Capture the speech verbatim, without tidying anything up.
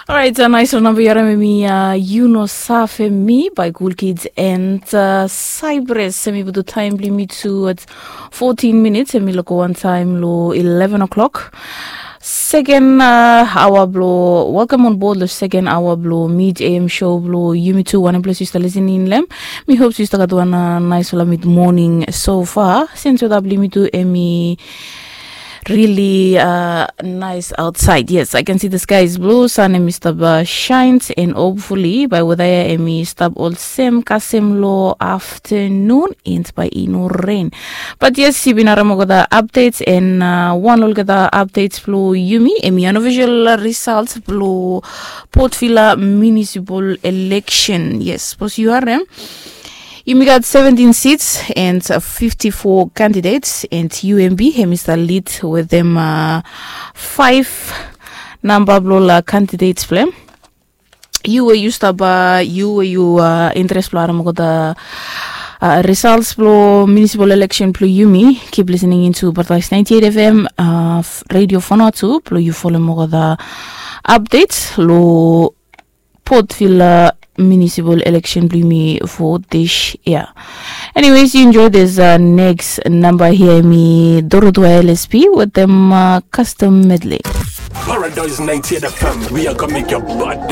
Orait, nais ol namba yu harim em i, yu no save mi by Cool Kids and Cyprus. Em i putum taem blong yumi tu at fourteen minutes, em i loko wantaem lo eleven o'clock. Seken aoa blo welcome on board lo seken aoa blo mid am show blo yumi tu wanem ples yu stap listening long em. Mi hop yu stap gat wan nais ol mid morning so far. Since weda blo yumi tu em i really uh, nice outside. Yes, I can see the sky is blue, sun em i stap uh, shines, and hopefully by weather ya em i stap olsem kasem lo afternoon and by i no rain. But yes, yu bin harim olgeta updates and uh, wan olgeta updates blo yumi em i unofficial results blo Port Vila municipal election. Yes, sapos yu harim yumi gat seventeen seats and uh, fifty-four candidates and U M B hem i stap lead wetem uh, five namba blo ol candidates blo hem. Yu we yu stap uh, yu we yu uh, interest blo harim olgeta uh, results blo municipal election blo yumi, keep listening into Paradise ninety-eight F M uh, Radio Vanuatu blo yu folem olgeta updates lo Port Vila municipal election blo yumi for this year. Anyways, you enjoy this uh, next number here, mi Dorothea L S P with them uh, custom medley. Paradise ninety-eight F M, we are gonna make your body